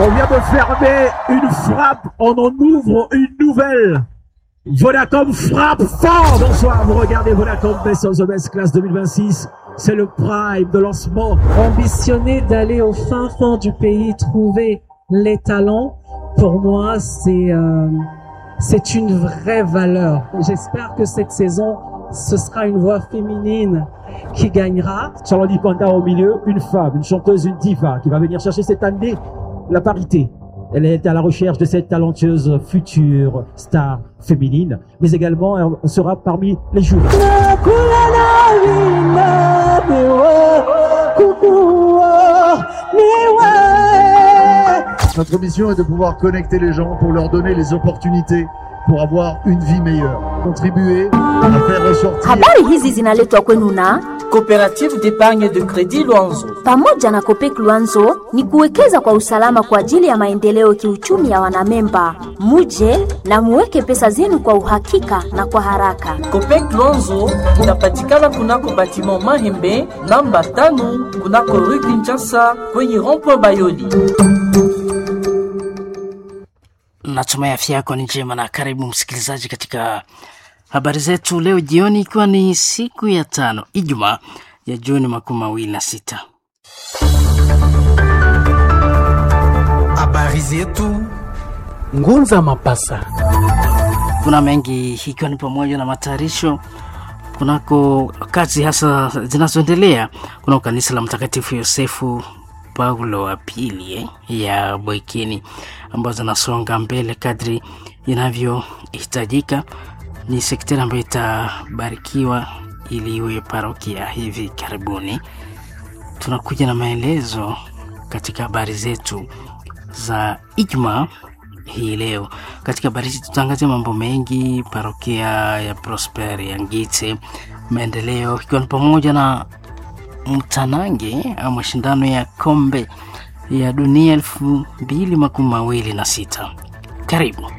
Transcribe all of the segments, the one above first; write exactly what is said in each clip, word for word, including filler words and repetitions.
On vient de fermer une frappe, on en ouvre une nouvelle. Vodacom frappe fort. Bonsoir, vous regardez Vodacom Best of the Best Class deux mille vingt-six. C'est le prime de lancement. Ambitionner d'aller au fin fond du pays, trouver les talents, pour moi, c'est euh, c'est une vraie valeur. J'espère que cette saison, ce sera une voix féminine qui gagnera. Charlotte Dipanda au milieu, une femme, une chanteuse, une diva qui va venir chercher cette année la parité. Elle est à la recherche de cette talentueuse future star féminine, mais également elle sera parmi les jurés. Notre mission est de pouvoir connecter les gens pour leur donner les opportunités pour avoir une vie meilleure. Contribuer à faire ressortir. Habari hizi zinaletwa kwenu na Coopérative d'épargne de crédit Luanzo. Pamoja na Copec Luanzo ni kuwekeza kwa usalama kwa ajili ya maendeleo kiuchumi ya wanamemba. Muje na muweke pesa zenu kwa uhakika na kwa haraka. Copec Luanzo inapatikana kunako batiment Mahembe namba tano kunako rue Kinshasa kwenye rond-point Bayoli. Natumai afya yako ni njema na karibu msikilizaji katika habari zetu leo jioni, ikiwa ni siku ya tano Ijumaa ya Juni makumi mawili na sita. Habari zetu Ngunza Mapasa. Kuna mengi ikiwa ni pamoja na matayarisho kunako kazi hasa zinazoendelea kunako kanisa la Mtakatifu Yosefu Paulo wa pili eh, ya Bwekini ambazo zinasonga mbele kadri inavyohitajika. Ni sekteri ambayo itabarikiwa ili iwe parokia hivi karibuni. Tunakuja na maelezo katika habari zetu za Ijumaa hii leo. Katika habari hizi tutaangazia mambo mengi, parokia ya Prosper ya Ngite, maendeleo ikiwa ni pamoja na mtanange au mashindano ya kombe ya dunia elfu mbili makumi mawili na sita. Karibu.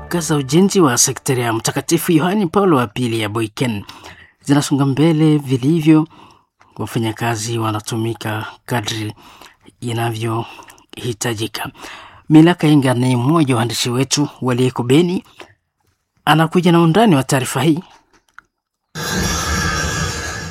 Kazi za ujenzi wa sekteri ya Mtakatifu Yohani Paulo wa pili ya Boyken zinasonga mbele vilivyo. Wafanyakazi wanatumika kadri inavyohitajika. Milaka Inga ni mmoja wa waandishi wetu waliyeko Beni, anakuja na undani wa taarifa hii.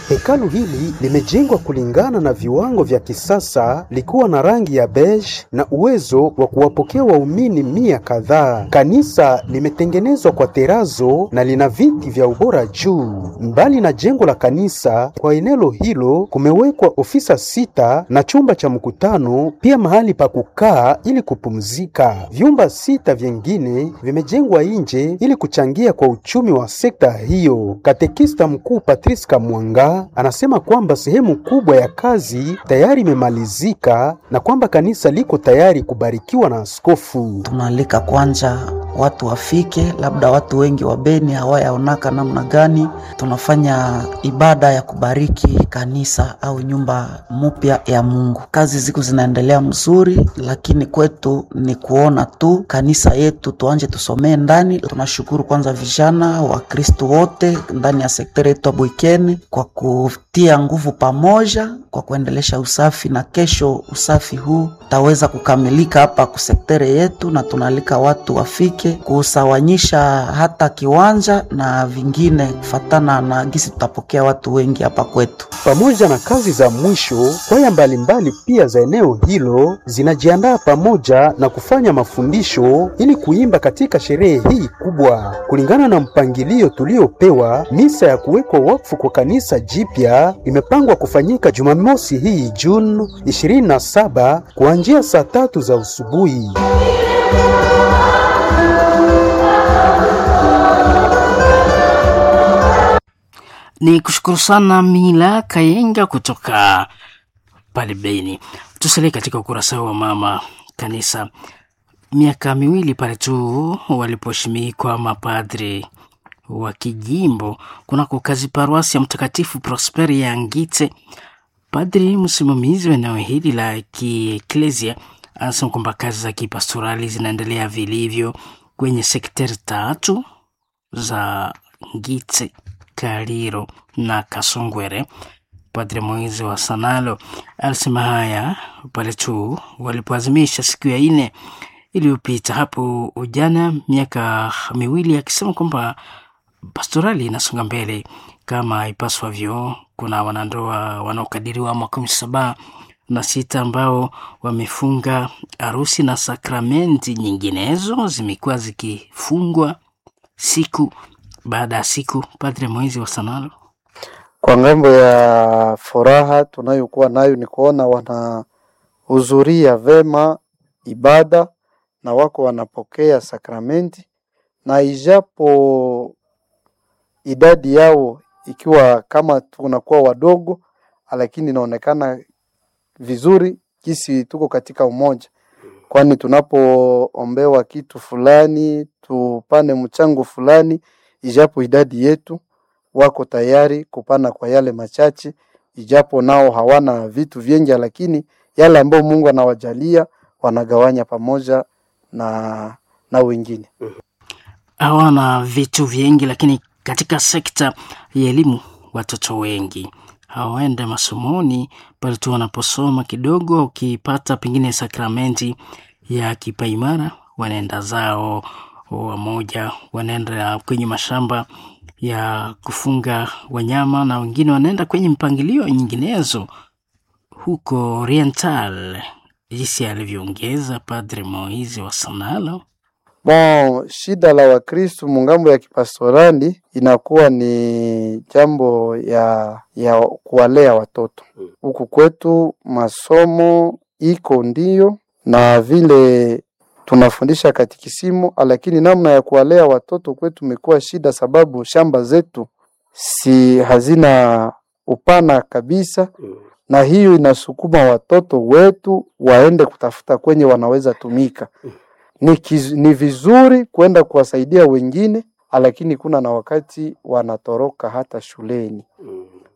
Hekalu hili limejengwa kulingana na viwango vya kisasa likiwa na rangi ya beige na uwezo wa kuwapokea waumini mia kadhaa. Kanisa limetengenezwa kwa terazo na lina viti vya ubora juu. Mbali na jengo la kanisa, kwa eneo hilo kumewekwa ofisa sita na chumba cha mkutano, pia mahali pa kukaa ili kupumzika. Vyumba sita vyengine vimejengwa nje ili kuchangia kwa uchumi wa sekta hiyo. Katekista mkuu Patrice Kamwanga anasema kwamba sehemu kubwa ya kazi tayari imemalizika na kwamba kanisa liko tayari kubarikiwa na askofu. Tunaalika kwanza watu wafike, labda watu wengi wa Beni hawayaonaka namna gani tunafanya ibada ya kubariki kanisa au nyumba mupya ya Mungu. Kazi ziko zinaendelea mzuri, lakini kwetu ni kuona tu kanisa yetu tuanje tusomee ndani. Tunashukuru kwanza vijana wa Kristo wote ndani ya sekteri yetu ya Bwikeni kwa kutia nguvu pamoja kwa kuendelesha usafi, na kesho usafi huu taweza kukamilika hapa kusektere yetu, na tunaalika watu wafike kusawanyisha hata kiwanja na vingine kufatana na gisi tutapokea watu wengi hapa kwetu. Pamoja na kazi za mwisho, kwaya mbalimbali pia za eneo hilo zinajiandaa pamoja na kufanya mafundisho ili kuimba katika sherehe hii kubwa. Kulingana na mpangilio tuliopewa, misa ya kuwekwa wakfu kwa kanisa jipya imepangwa kufanyika Jumamosi hii Juni ishirini na saba kuanzia saa tatu za usubuhi. Ni kushukuru sana Mila Kayenga kutoka pale Beni. Tusalie katika ukurasa wa mama kanisa. Miaka miwili pale tu waliposhimikwa mapadri wa kijimbo kunako kazi paruasi ya Mtakatifu Prosperi ya Ngite, padri msimamizi wa eneo hili la kieklesia anasema kwamba kazi za kipastorali zinaendelea vilivyo kwenye sekteri tatu za Ngitse, Kaliro na Kasongwere. Padre Moizi wa Sanalo alisema haya pale tu walipoazimisha siku ya nne iliyopita hapo ujana miaka miwili, akisema kwamba pastorali inasonga mbele kama ipaswavyo. Kuna wanandoa wanaokadiriwa makumi saba na sita ambao wamefunga harusi na sakramenti nyinginezo zimekuwa zikifungwa siku baada ya siku. Padre Moizi wa Sanalo: Kwa ngambo ya furaha tunayokuwa nayo ni kuona wanahudhuria vema ibada na wako wanapokea sakramenti, na ijapo idadi yao ikiwa kama tunakuwa wadogo, lakini inaonekana vizuri kisi tuko katika umoja, kwani tunapoombewa kitu fulani tupane mchango fulani, ijapo idadi yetu wako tayari kupana kwa yale machache, ijapo nao hawana vitu vingi, lakini yale ambayo Mungu anawajalia wanagawanya pamoja na, na wengine. Hawana vitu vingi, lakini katika sekta ya elimu watoto wengi hawaende masomoni pale tu wanaposoma kidogo, ukipata pengine sakramenti ya kipaimara wanaenda zao, wamoja wanaenda kwenye mashamba ya kufunga wanyama na wengine wanaenda kwenye mpangilio nyinginezo huko Oriental, jinsi alivyoongeza Padre Moizi wa Sanalo. Bon, shida la Wakristu mungambo ya kipastorali inakuwa ni jambo ya, ya kuwalea watoto huku kwetu. Masomo iko ndiyo na vile tunafundisha katikisimu, lakini namna ya kuwalea watoto kwetu imekuwa shida, sababu shamba zetu si hazina upana kabisa, na hiyo inasukuma watoto wetu waende kutafuta kwenye wanaweza tumika. Ni, kiz, ni vizuri kwenda kuwasaidia wengine, lakini kuna na wakati wanatoroka hata shuleni.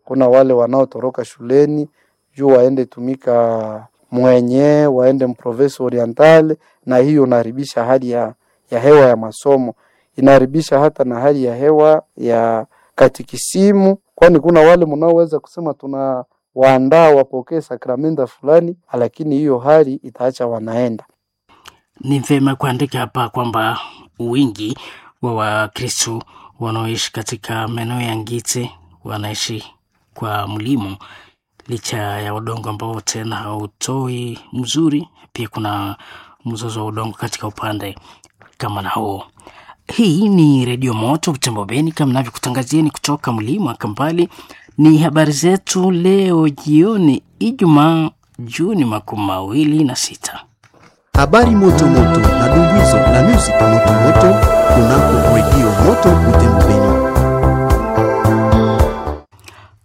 Kuna wale wanaotoroka shuleni juu waende tumika mwenye waende mprovince Oriental, na hiyo inaharibisha hali ya, ya hewa ya masomo, inaharibisha hata na hali ya hewa ya katikisimu, kwani kuna wale mnaoweza kusema tuna waandaa wapokee sakramenta fulani, lakini hiyo hali itaacha wanaenda. Ni vyema kuandika hapa kwamba wingi wa Wakristo wanaoishi katika maeneo ya Ngite wanaishi kwa mlimo, licha ya udongo ambao tena hautoi mzuri. Pia kuna mzozo wa udongo katika upande kama na huo. Hii ni Redio Moto Butembo Beni, kama navyokutangazieni kutoka mlima wa Kambali. Ni habari zetu leo jioni, Ijumaa Juni makumi mawili na sita. Habari moto moto na dumbuizo na music moto moto kunako Redio Moto Butembo Beni.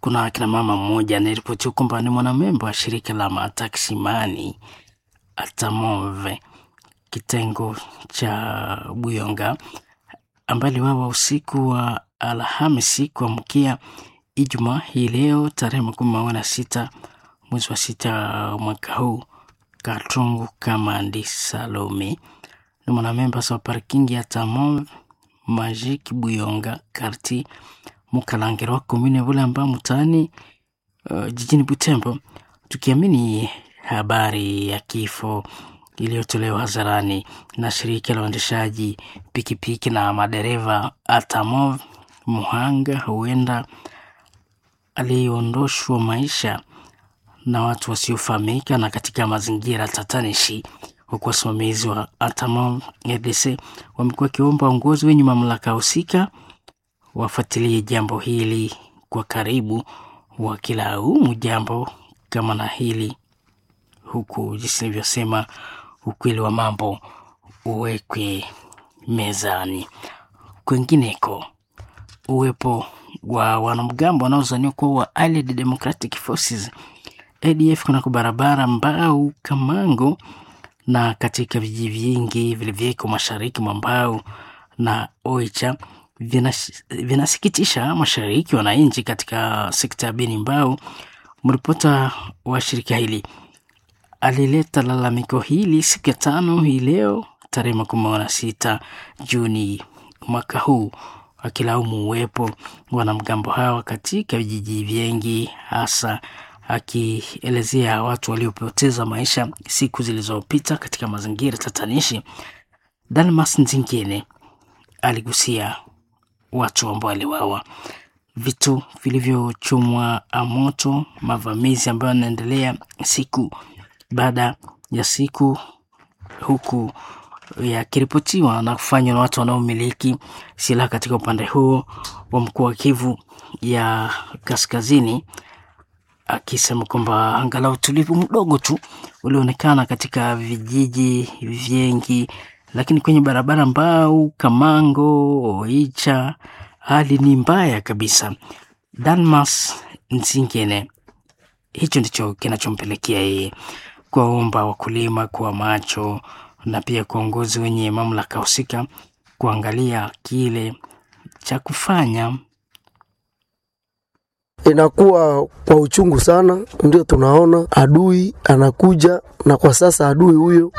Kuna akina mama mmoja anayeripotiwa kwamba ni mwanamemba wa shirika la mataksimani Atamove kitengo cha Buyonga ambaye aliwawa usiku wa Alhamisi kuamkia Ijumaa hii leo tarehe makumi mawili na sita mwezi wa sita mwaka huu. Katungu Kamandi Salome ni mwanamemba wa parking ya Tamove Magic Buyonga karti Mukalangirwa komune Bulamba mtaani uh, jijini Butembo, tukiamini habari ya kifo iliyotolewa hadharani na shirika la uendeshaji pikipiki na madereva Atamov, muhanga huenda aliondoshwa maisha na watu wasiofahamika na katika mazingira tatanishi, huku wasimamizi wa Atamov R D C wamekuwa wakiomba uongozi wenye mamlaka husika wafuatilie jambo hili kwa karibu, wakilaumu jambo kama na hili, huku jinsi nilivyosema, ukweli wa mambo uwekwe mezani. Kwingineko, uwepo wa wanamgambo wanaozaniwa kuwa wa Allied Democratic Forces A D F kunako barabara Mbau Kamango na katika vijiji vingi vilivyoko mashariki mwa Mbau na Oicha vinasikitisha mashariki wananchi katika sekta ya Beni Mbau. Mripota wa shirika hili alileta lalamiko hili siku ya tano hii leo tarehe makumi mawili na sita Juni mwaka huu, akilaumu uwepo wanamgambo hawa katika vijiji vingi, hasa akielezea watu waliopoteza maisha siku zilizopita katika mazingira tatanishi. Dalmas Nzingine aligusia watu ambao waliwawa, vitu vilivyochomwa moto, mavamizi ambayo yanaendelea siku baada ya siku, huku yakiripotiwa na kufanywa na watu wanaomiliki silaha katika upande huo wa mkoa wa Kivu ya Kaskazini, akisema kwamba angalau utulivu mdogo tu ulioonekana katika vijiji vingi, lakini kwenye barabara Mbau, Kamango, Oicha hali ni mbaya kabisa. Dalmas Nzingine, hicho ndicho kinachompelekea yeye kuwaomba wakulima kuwa macho na pia kuongozi wenye mamlaka husika kuangalia kile cha kufanya. Inakuwa kwa uchungu sana, ndio tunaona adui anakuja, na kwa sasa adui huyo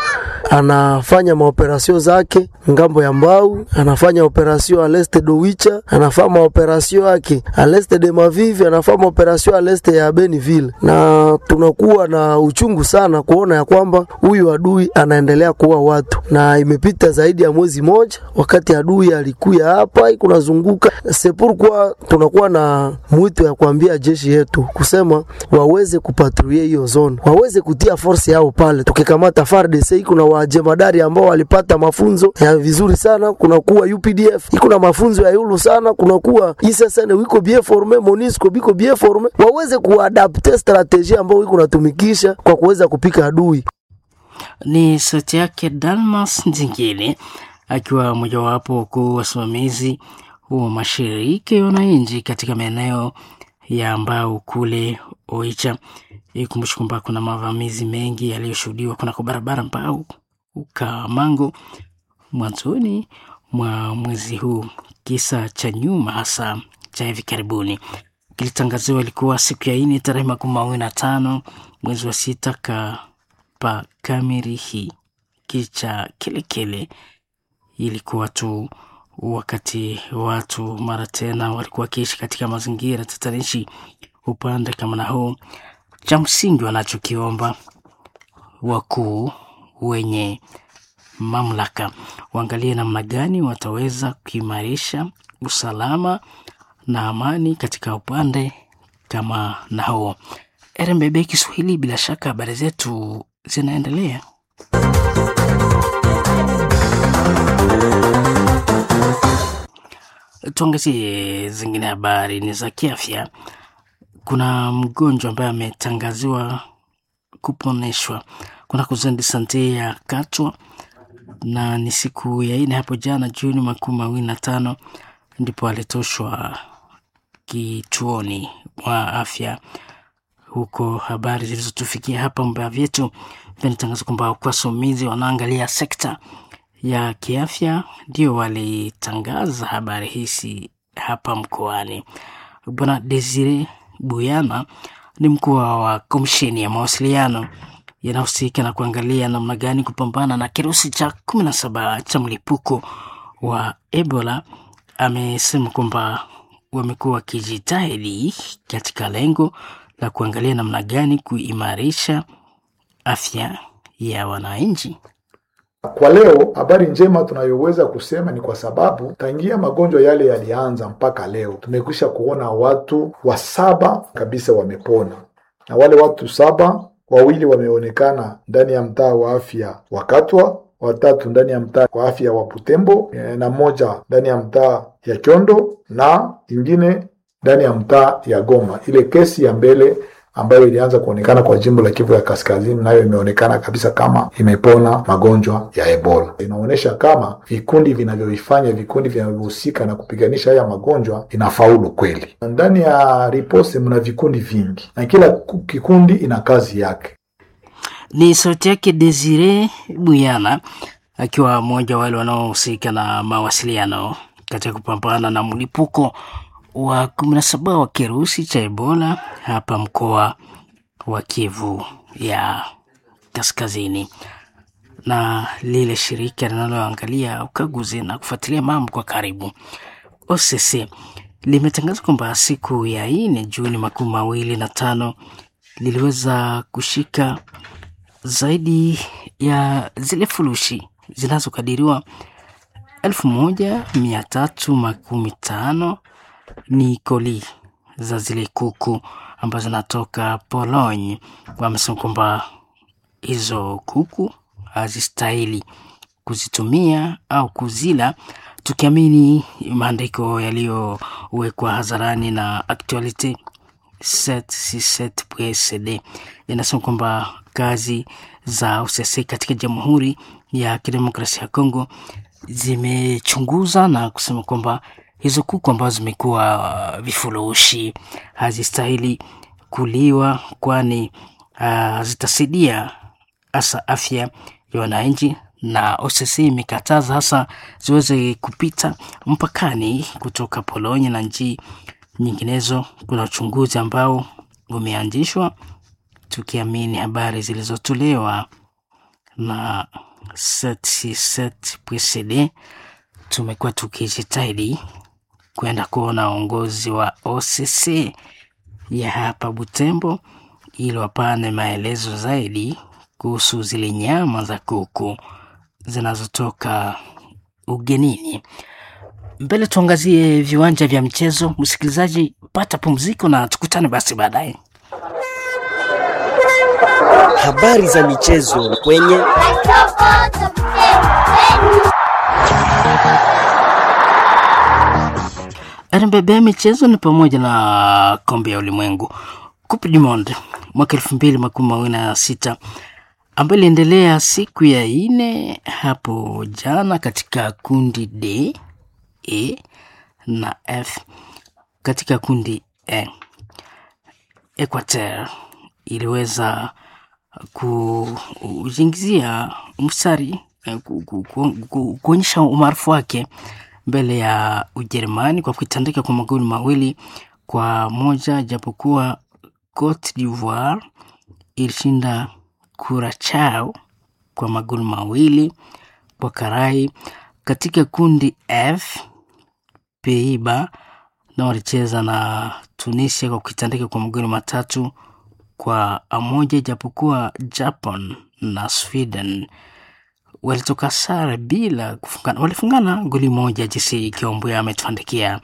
anafanya maoperasio zake ngambo ya Mbau, anafanya operasio aleste dowicha, anafanya maoperasio yake aleste de Mavivi, anafanya maoperasio aleste ya Beniville, na tunakuwa na uchungu sana kuona ya kwamba huyu adui anaendelea kuua watu, na imepita zaidi ya mwezi moja wakati adui alikuya hapa ikunazunguka sepurkwa. Tunakuwa na mwito ya kuambia jeshi yetu kusema waweze kupatrulie hiyo zone, waweze kutia force yao pale. Tukikamata F A R D C iko na wajemadari ambao walipata mafunzo ya vizuri sana, kuna kuwa U P D F iko na mafunzo ya yulu sana, kuna kuwa I S S N wiko bien forme, MONUSCO biko bien forme, waweze kuadapte strategie ambao iko natumikisha kwa kuweza kupika adui. Ni sauti yake Dalmas Nzingine akiwa mojawapo wakuu wasimamizi wa mashirika ya wananchi katika maeneo ya Mbau kule Oicha. Ikumbushe kwamba kuna mavamizi mengi yaliyoshuhudiwa kunako barabara Mbau Kamango mwanzoni mwa mwezi huu. Kisa cha nyuma hasa cha hivi karibuni kilitangaziwa ilikuwa siku ya nne tarehe makumi mawili na tano mwezi wa sita ka pa Kamirihi kicha Kelekele. Ilikuwa tu wakati watu mara tena walikuwa wakiishi katika mazingira tatanishi upande kama na huu. Cha msingi wanachokiomba wakuu wenye mamlaka waangalie namna gani wataweza kuimarisha usalama na amani katika upande kama na huo. R M B B Kiswahili, bila shaka habari zetu zinaendelea. Tuangazie zingine habari ni za kiafya. Kuna mgonjwa ambaye ametangaziwa kuponeshwa kunako Zone de Sante ya Katwa, na ni siku ya nne hapo jana Juni makumi mawili na tano ndipo alitoshwa kituoni mwa afya huko. Habari zilizotufikia hapa mbea vyetu vinatangaza kwamba wasomizi wanaangalia sekta ya kiafya ndio walitangaza habari hizi hapa mkoani. Bwana Desire Buyana ni mkuu wa komisheni ya mawasiliano yanahusika na kuangalia namna gani kupambana na kirusi cha kumi na saba cha mlipuko wa Ebola. Amesema kwamba wamekuwa wakijitahidi katika lengo la kuangalia namna gani kuimarisha afya ya wananchi. Kwa leo habari njema tunayoweza kusema ni kwa sababu tangia magonjwa yale yalianza mpaka leo tumekwisha kuona watu wa saba kabisa wamepona, na wale watu saba, wawili wameonekana ndani ya mtaa wa afya wa Katwa, watatu ndani ya mtaa wa afya wa Butembo, na moja ndani ya mtaa ya Kyondo na ingine ndani ya mtaa ya Goma. Ile kesi ya mbele ambayo ilianza kuonekana kwa jimbo la Kivu ya Kaskazini nayo imeonekana kabisa kama imepona magonjwa ya Ebola. Inaonyesha kama vikundi vinavyoifanya vikundi vinavyohusika na kupiganisha haya magonjwa inafaulu kweli. Ndani ya ripose mna vikundi vingi na kila kikundi ina kazi yake. Ni sauti yake Desire Buyana akiwa mmoja wale wanaohusika na mawasiliano katika kupambana na mlipuko wa kumi na saba wa kirusi cha Ebola hapa mkoa wa Kivu ya Kaskazini. Na lile shirika linaloangalia ukaguzi na kufuatilia mambo kwa karibu O C C limetangaza kwamba siku ya nne Juni makumi mawili na tano liliweza kushika zaidi ya zile furushi zinazokadiriwa elfu moja mia tatu makumi tano ni koli za zile kuku ambazo zinatoka Pologne. Wamesema kwamba hizo kuku hazistahili kuzitumia au kuzila, tukiamini maandiko yaliyowekwa hadharani na Actualite sept six sept point C D yanasema kwamba kazi za U C C katika Jamhuri ya Kidemokrasia ya Kongo zimechunguza na kusema kwamba hizo kuku ambazo zimekuwa vifurushi hazistahili kuliwa, kwani uh, zitasaidia hasa afya ya wananchi, na O C C imekataza hasa ziweze kupita mpakani kutoka Polonia na nchi nyinginezo. Kuna uchunguzi ambao umeanzishwa tukiamini habari zilizotolewa na sept six sept point C D. Tumekuwa tukijitahidi kwenda kuona uongozi wa O C C ya hapa Butembo ili wapane maelezo zaidi kuhusu zile nyama za kuku zinazotoka ugenini. Mbele tuangazie viwanja vya mchezo. Msikilizaji, pata pumziko na tukutane basi baadaye. Habari za michezo kwenye R M B B. Michezo ni pamoja na kombe ya ulimwengu Coupe du Monde mwaka elfu mbili makumi mawili na sita ambayo iliendelea siku ya ine hapo jana katika kundi D, E na F. Katika kundi E, Equateur iliweza kujiingizia mstari, ku, ku, ku, ku, kuonyesha umaarufu wake mbele ya Ujerumani kwa kuitandika kwa magoli mawili kwa moja, japokuwa Cote d'Ivoire ilishinda Curacao kwa magoli mawili kwa karai. Katika kundi F, Pays-Bas na walicheza na Tunisia kwa kuitandika kwa magoli matatu kwa moja, japokuwa Japan na Sweden walitoka sare bila kufungana, walifungana goli moja. Jinsi Kiombwe ametuandikia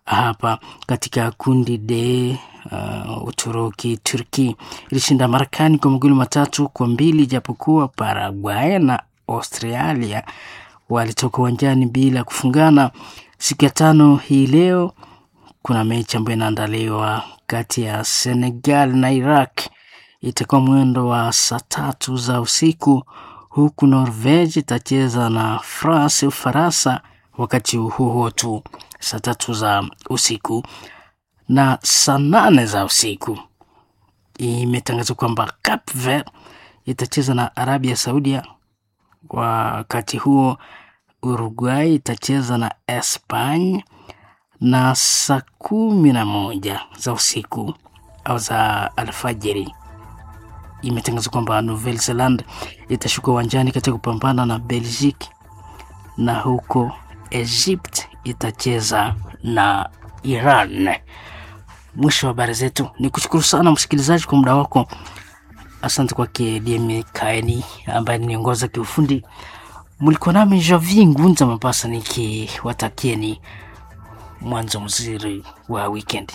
hapa. Katika kundi D, uh, Uturuki Turki ilishinda Marekani kwa magoli matatu kwa mbili, japokuwa Paraguay na Australia walitoka uwanjani bila kufungana. Siku ya tano hii leo kuna mechi ambayo inaandaliwa kati ya Senegal na Iraq, itakuwa mwendo wa saa tatu za usiku, huku Norvege itacheza na France Ufaransa wakati huo huo tu saa tatu za usiku. Na saa nane za usiku imetangazwa kwamba Cape Verde itacheza na Arabia Saudia. Wakati huo Uruguay itacheza na Espanya, na saa kumi na moja za usiku au za alfajiri imetangazwa kwamba Nouvelle Zelande itashuka uwanjani katika kupambana na Belgique, na huko Egypt itacheza na Iran. Mwisho wa habari zetu. Ni kushukuru sana msikilizaji kwa muda wako. Asante kwake D M Kaeni ambaye niongoza kiufundi. Mlikuwa nami Javi Ngunza Mapasa nikiwatakieni mwanzo mzuri wa weekend.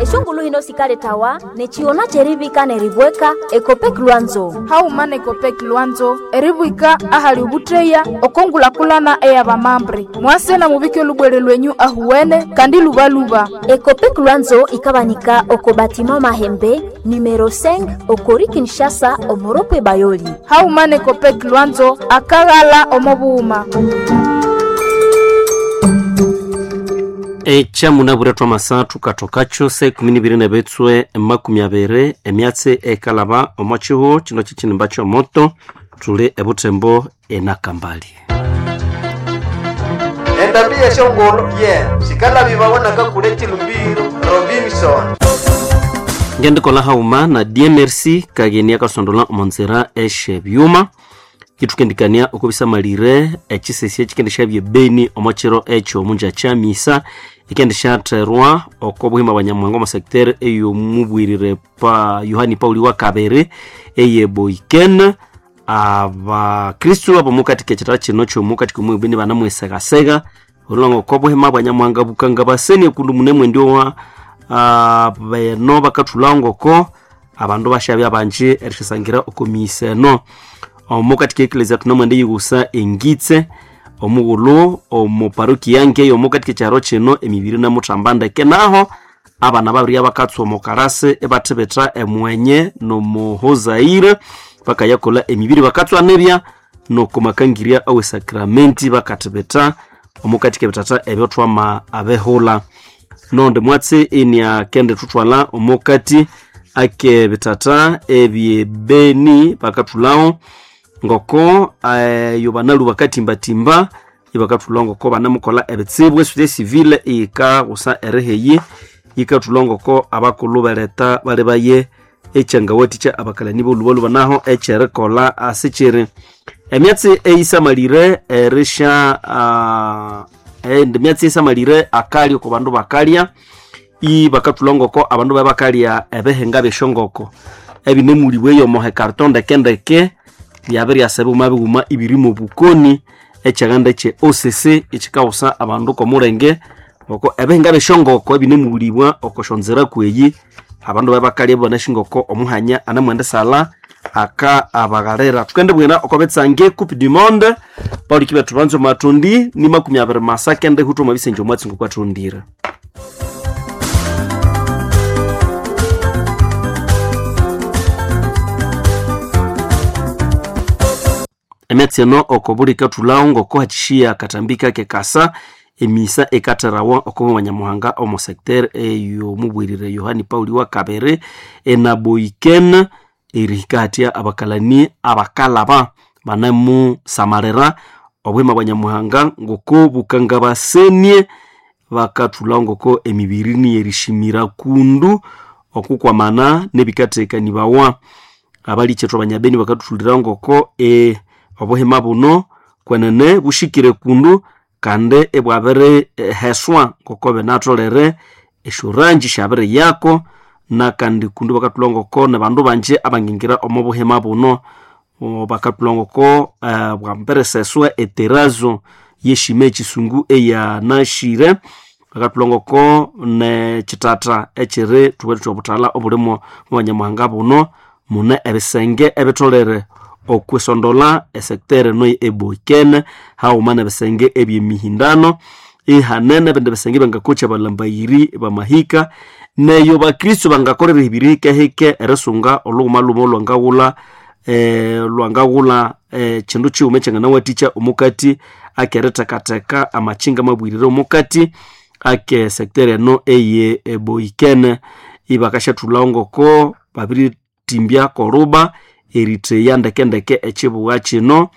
Eshungulu hino sikale tawa nechiona cherivika neribweka Ekopek Lwanzo haumana Ekopek Lwanzo eribwika ahali ubutreya okongulakulana eyabamambre mwase na mubike lubwere lwenyu ahuwene kandi lubaluba. Ekopek Lwanzo ikabanika oko batima Mahembe numero cinq okori Kinshasa omoropwe Bayoli. Haumana Ekopek Lwanzo akaghala omobuuma. Echa munabura twa masathu kathokacho se ikumi nibiri nebitswe makumi abiri emyatsi ekalaba omo kihugho kino kyekinimba kyomoto thuli ebuthembo enakambali. Endambi yeshongolo ye sikalabibawanaka kule chilumbiro Robinson. Ngendikola hauma na D M R C kageni akasondola omonzera eshe byuma Itukendikania okubisamalire ekisesi ekikendisha byebeni omo kiro ekyo omunja kya misa ikendishatherwa oko buhima bwa Nyamuhanga omo secteur ey'omubwirire pa Yohani Pauli wa kabiri eye Boiken. Abakristu ab'omukati k'ekitara kino ky'omukati k'omwebeni banamwesegasega olhwango oko buhima bwa Nyamuhanga bukanga baseni okundu mune mwendi owa beno bakathulha ngoko abandu bashabya banji erishasangira oko misa eno. Omukati k'eklezia tunamwende yighusa engitse omughulhu omu parokia yange omukati k'ekyaro kino emibiri namuthamba ndeke naho abana babiri abakatswa omu karasi ibathibitha emwenye nomuhozaire bakayakolha emibiri bakatswa nibya nokumakangirya awe sakramenti bakathibitha omukati k'ebithatha ebyo thwama abehulha. Nondi mwatsi iniakende thuthwala omukati ak'ebithatha ebyebeni bakathulhaho ngoko eyo banalu bakatimbatimba ibakathulha ngoko banamukolha ebitsibu. Esociété civile iyikaghusa eriheyi yikathulha ngoko abakulhu beleta bali baye ekyangawathikya abakalani b'olhubalhuba naho ekyerikolha asikyiri. Emyatsi eyisamalire erisha uh, endi myatsi eyisamalire akalya oko bandu bakalya ibakathulha ngoko abandu baye bakalya ebihinga by'esyongoko ebinemulibwa eyo carton ndeke ndeke byabiryasa bighuma bighuma ibirimo obukoni. Ekyaghanda ekye O C C ekikaghusa abandu kw'omulenge ngoko ebihinga by'esyongoko ebinemulibwa oko syonzira kweyi abandu baye bakalya ibanasi ngoko omuhanya anamwendisala aka abaghalira. Thukendibwira oko bitsange Coupe du Monde pauliki bethu banza omathundi ni makumi abiri masa kende huthwa omwa bisenje omwatsi ngokwathundire. Emyatsi eno oko buli kathulhaho ngoko hakishiya akatambi kake kasa emisa ekatherawa oko Banyamuhanga omo secteur ey'omubwirire Yohani Pauli wa kabiri enaboiken erihika hatya abakalani abakalaba banemusamalira obuhima bwa Nyamuhanga ngoko bukangabasenie bakathulhaho ngoko emibiri niyerishimira kundu okukwamana n'ebikathekanibawa. Abalikyethwa abanyabeni bakathuthulira ngoko e obuhima buno kwenene bushikire kundu kandi ibwabiri heswa ngoko binatholere esyorangi syabiri yako nakandi kundu bakathulha ngoko nabandu banji abangingira omo buhima buno bakathulha ngoko uh, bwambiriseswa eterazo yeshima ekisungu eyanashire. Bakathulha ngoko nekithatha ekiri thuwethu obuthalha obulimo mu Banyamuhanga buno mune ebisenge ebitholere okwisondola esecteur eno eboikene haghuma n'ebisenge ebyemihindano ihanene ebindi bisenge bangakokya abalambayiri bamahika neyo bakristo bangakolera ebiri hikehike erisunga olhughuma lhuma olwangaghulha eh, lwangaghulha eh, kindu kighuma ekyanganawathikya omukati akerithekatheka amakinga amabwirire omukati ake secteur eno eye eboikene. Ibakasyathulhaho ngoko babiritimbya koruba eritheya ndekendeke ekibuga kino.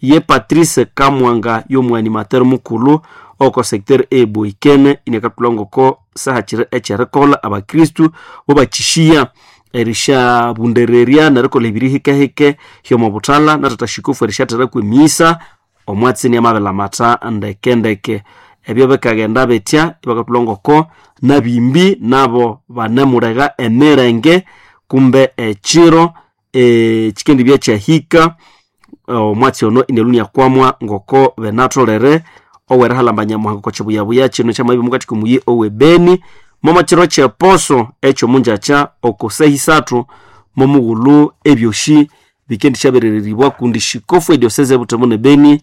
Ye Patrice Kamwanga y'omwanimateri mukulhu oko secteur eboikene inakathulha ngoko sahakiri ekyerikolha abakristu bobakishiya erishabundererya nerikolha ebiri hikehike hyomo buthalha nathatha shikofu erisyatheraku emisa omwatsi niamabilamatha ndekendeke. Ebyo bikaghenda bitya ibakathulha ngoko nabimbi nabo banemulega emirenge kumbe ekiro ekikendibya kyahika omwatsi ono inalhunia kwamwa ngoko benatholere owerihalamba Nyamuhanga oko kibuyabuya kino kyamabya omukati k'omuyi ow'ebeni momo kiro ky'eposo eky'omunjakya oko saha isathu momughulhu ebyoshi bikendisyaberereribwa kundi shikofu ediosese ebutembo n'ebeni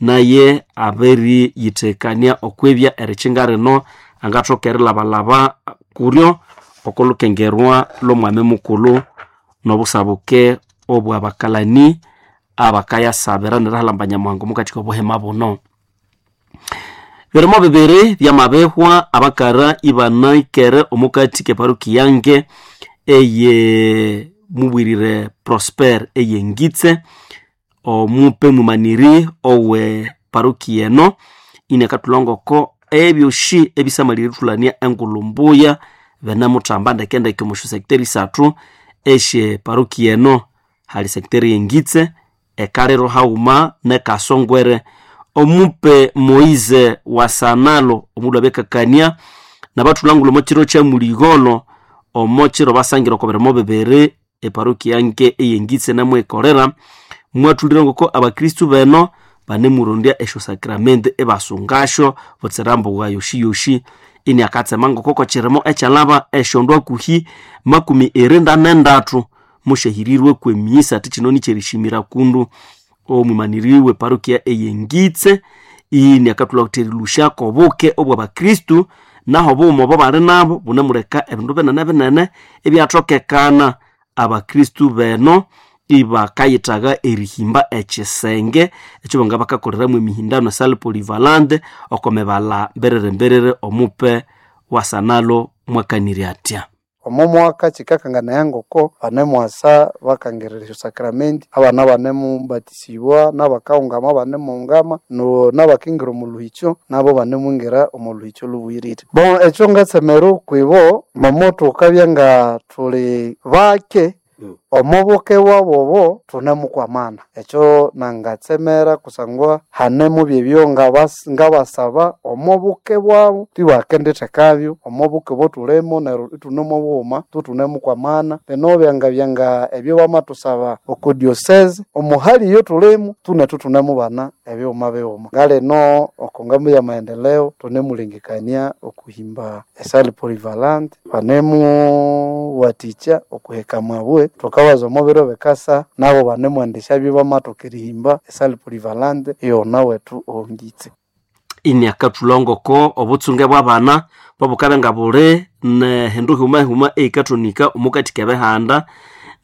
naye abiriyithekania okwibya erikinga rino angathoka erilabalaba kuryo okolukengerwa lw'omwami mukulhu n'obusabuke obw'abakalani abakayasabira nerihalamba Nyamuhanga omukati k'obuhima buno. Birimo bibiri byamabihwa abakara ibanaikere omukati k'eparuki yange eye mubwirire Prosper eyengitse omupe mumaniri owe paruki eno inakathulha ngoko ebyoshi ebisamalire erithulania engulhu mbuya benemuthamba ndekendeke omu syo sector isathu esye paruki eno. Hali sector yengitse, ekaliro hauma nekasongwere omupe Moize wasanalo omundu abekakania nabathulangula omo kiro kya muligolo omo kiro basangira oko birimo bibiri eparokia nke eyengitse namwekolera mwathulire ngoko abakristu beno banemurondya esyo sakramenti ebasungasyo butsira mbuga yoshiyoshi ini akatsema ngoko kokirimo ekyalaba esyondu akuhi makumi irinda nendathu mushahirirwe kwemisa ati kino nikyerishimira kundu omwimaniriwe parokia eyengitse ini akathulha kuthi erilusha kobuke obwa bakristu naho buuma obo bali nabo bunemuleka ebindu binene binene ebyathokekana abakristu beno ibakayithaga erihimba ekisenge ekyo banga bakakoleramu emihindano esale polivalente oko mibala mberere mberere omupe wasanalo mwakanirye atya omo mwaka kikakanganaya ngoko banemwasa bakangirira esyo sakramenti abana banemubatisibwa n'abakaungama banemuungama no n'abakingira omu luhikyo nabo banemwingira omu luhikyo lubwirire bon ekyo ngatsemera okwibo momo thukabya nga thuli bake omubuke wabobo thunemukwamana ekyo nangatsemera kusangwa hanemu byebyo ngabas- ngabasaba omubuke bwabo tibakendithekabyo omubuke bothulimo neryo ithune bughuma thuthune-mukwamana lino byangabya ebyo bamathusaba oko diocese omuhali iyo thulimu thune thuthune-mubana ebighuma bighuma ngalino oko ngambo ya maendeleo thunemulengekania okuhimba esale polyvalente banemuwathikya okuheka mabwe thukabaza omo biro bikasa nabo banemwendesya bamathoka erihimba esale polyvalente iyona wethu owongitse ini akathulha obutsunge bw'abana bwabukabe nga buli nehindu huma-huma eikathonika omukati k'ebihanda